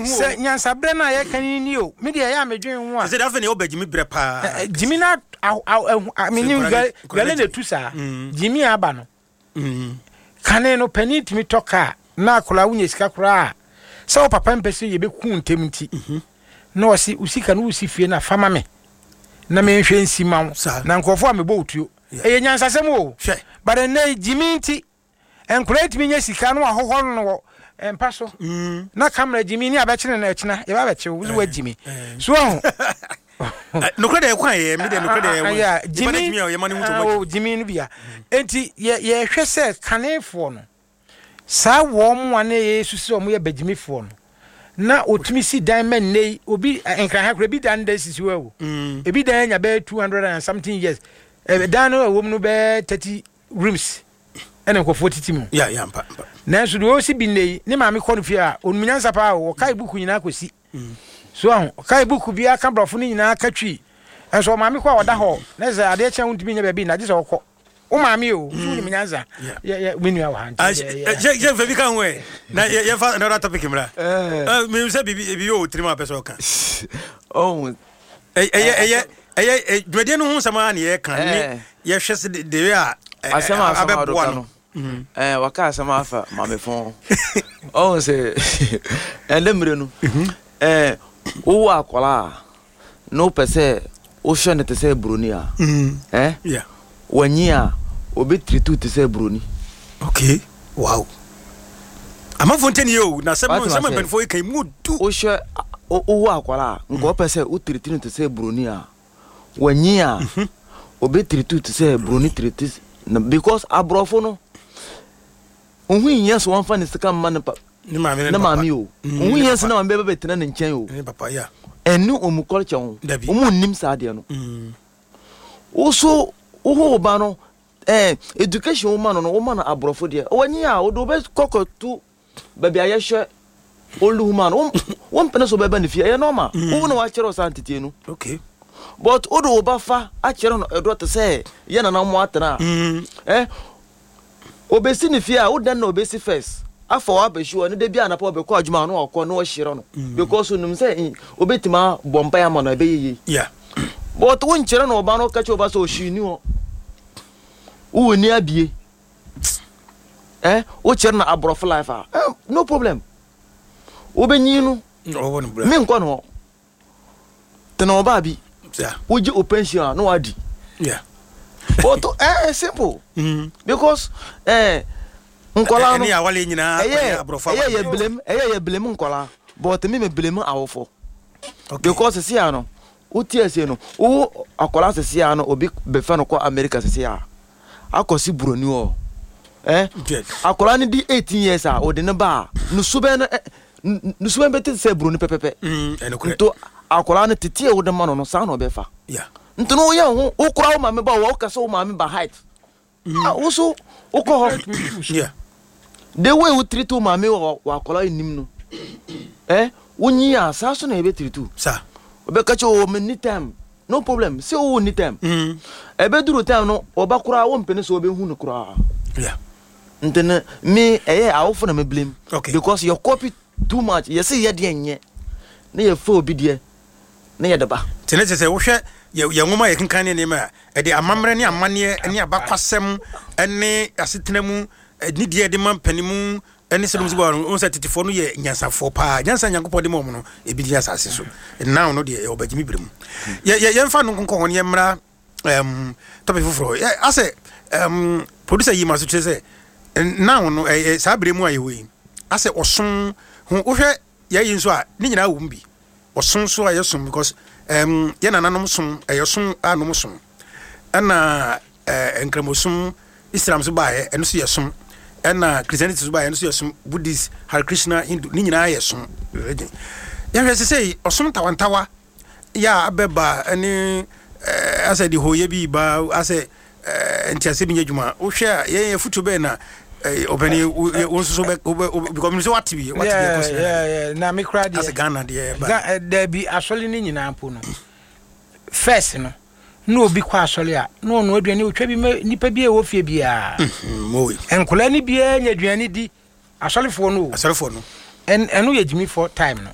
ho. Sɛ nyansaberɛ no a yɛka no ni o, me deɛ ɛyɛ a medwen ho a. Sɛ afei na ɛwɔ bɛgyimi berɛ paa. Gyimi no menim dwale na ɛtu saa. Gyimi aba no. Kane no panin tumi tɔ kaa na akwadaa wonya sika koraa a, sɛ wo papa mpɛ sɛ yɛbɛku ntɛm nti, na ɔse wo sika no wosi fie no a fa ma me na menhwɛ nsi ma wo na nkurɔfoɔ a mebɔ wo tuo. Ɛyɛ nyansasɛm o. But ɛnnɛ yi gyimi nti nkwadaa ntumi nya sika na wahohɔ no wɔ mpa so na camera gyimi ne abɛkyene no ɛkyena yɛba abɛkye wo so wagyimi so ahu. Nokorɛ deɛ ɛkwan yɛ me deɛ nokorɛ deɛ ɛwɔ gyimi o gyimi no bia enti yɛhwɛ sɛ kanefoɔ no saa wɔn mu a na yɛsusu sɛ wɔn yɛ bagyimifoɔ no na otumi si dan ma nnɛ yi obi nkran ha koraa ebi dan da sisi hɔ o ebi dan anya bɛyɛ 200 and something years dan no ɛwɔ mu no bɛyɛ 30 rooms ɛna nkurɔfoɔ titi mu. Yeah, yeah, mpa, mpa. Nanso deɛ ɔsi bi nnɛ yi, ne maame kɔ no fie a, ɔnum nyansa paa o, ɔkae buku nyinaa kɔsi. So ahu, ɔkae buku biara ka borɔfo no nyinaa ka twi. Nso ɔmaame kɔ a ɔda hɔ, na sɛ adeɛ kye a wontumi nyɛ baabi nna, gye sɛ ɔkɔ. Wo maame o, so wonim nyansa. Yɛ, yɛ, me nua wɔ ha nti. Yɛ, yɛ, mfa bi ka ho ɛ. Na yɛ, yɛmfa another topic mmra. Menim sɛ biribi, biribi wɔ wo tirim a wopɛ sɛ ɔka. Oh, Ɛyɛ, ɛyɛ, ɛyɛ dwumadie no ho nsɛm ara na yɛka ne yɛhwɛ sɛ de a asɛm a asɛm a abɛboa no no. Waka asɛm afa maame fon ɔhu sɛ ɛnɛ mmerɛ no wowɔ akwadaa a na wopɛ sɛ wohwɛ no te sɛ buroni a wanyi a obɛtiritu te sɛ buroni. Okay, wow, amanfoɔ ntɛni yɛ o na asɛm no nsɛm mpanimfoɔ yi kan mu du. Wohwɛ wowɔ akwadaa a nka wopɛ sɛ wotiriti no te sɛ buroni a, wanyi a obɛtiritu te sɛ buroni tiriti no, because aborɔfo no ohu nyɛ sɛ wɔmfa ne sika mma ne pa ne maame ne maame o, ohu nyɛ sɛ ne maame bɛbɛ bɛtena ne nkyɛn o, ɛne ɔmu culture ho, ɔmu nnim saa adeɛ no. Wo so woho wo ba no education wo ma no no, wo ma no aborɔfo deɛ, wanyi a wode wobɛkɔ kɔto baabi a yɛhwɛ old woman, wo mpene so bɛba ne fie, ɛyɛ normal. Wo na wakyerɛ wo saa nteteɛ no. But wode wo ba fa akyerɛ no ɛdɔ te sɛ yɛ nana mo atena a, obɛsi ne fie a, wo dan na obɛsi first afa wabɛhyi hɔ ne da bi anapa ɔbɛkɔ adwuma na wakɔ na ɔhyerɛ no because onim sɛ obɛtumi abɔ mpaeɛ ama no ɛbɛyɛ yie. But wo nkyerɛ no ɔba no, ɔka kyerɛ ɔba sɛ ɔhwee ni hɔ, wowɔ ni abie, wokyerɛ no aborɔfo life a, no problem, wobɛnyin no menkɔ no hɔ tena ɔbaa bi wogye o pension a na wadi. But simple because nkɔla no ɛyɛ ɛyɛ yɛ blame, ɛyɛ yɛ blame nkɔla, but me blame awofo because sisi ano wote ase no, wo akɔla sisi ano obi bɛfɛ no kɔ America sisi a akɔsi buroni hɔ, akɔla no di 18 years a ɔde ne ba a ne subɛn no ne subɛn bɛte sɛ buroni pɛpɛpɛ. Nto akɔla no tete a wode ma no no saa na ɔbɛfa. Nti no woyɛ ho wokora wo maame ba wɔ woka sɛ wo maame ba height wo so wokɔ hɔ the way wo treat wo maame wɔ akɔla anim no, wonyi a saa so na yɛbɛtiritu wobɛka kyɛ wɔ me ni time, no problem sɛ wowɔ ni time. Ɛbɛduru time no ɔba koraa wompene sɛ wobɛhu no koraa. Nti no me ɛyɛ awofo na me blame because yɛ copy too much, yɛse yɛ deɛ nyɛ na yɛfa obi deɛ na yɛde ba. Nti ne kyerɛ sɛ wohwɛ yɛ nwoma a yɛkenkan ne nneɛma a ɛde amammerɛ ne amanneɛ ne abakwasɛm ne asetena mu ne deɛ ɛde ma mpanimu ne sɛ dɔm no wɔn sɛ tetefoɔ no yɛ nyansafoɔ paa, nyansa Nyankopɔn de ma wɔn no ebi di asase so now no deɛ ɛwɔ bɛgyimi bere mu. Yɛ yɛ yɛmfa no nkonkɔ hɔ ne yɛmmra topic foforɔ. Yɛ asɛ producer yi ma so kyerɛ sɛ now no ɛyɛ saa bere mu a yɛwɔ yi asɛ ɔsom ho wohwɛ yɛyi nso a ne nyinaa wɔ mu bi ɔsom so a yɛsom because yɛ nananom som ɛyɛ som a nom som ɛna nkramosom Islam so baeɛ, ɛno so yɛ som, ɛna Christianity so baeɛ, ɛno so yɛ som, Buddhist, Hare Krishna, Hindu, ne nyinaa yɛ som religion. Yɛhwɛ sɛ sɛ ɔsom ntawantawa yɛ a abɛba ɛne asɛ de hooyɛ bi ba asɛ nteaseɛ bi nyɛ adwuma. Wohwɛ a yɛn afutuo bɛyɛ na ɔpɛni wo nso so bɛ because mi sɛ wate bi wate bi ɛkɔ sɛ na me kora deɛ asɛ Ghana deɛ ba dabi asɔre ne nyinaa mpo no first no na obi kɔ asɔre a na ɔno aduane otwa bi ma nipa bi a ɛwɔ fie biara, nkɔla ne biara nya aduane di, asɔrefoɔ no o. Asɔrefoɔ no. Ɛno yɛ gyimifoɔ time no.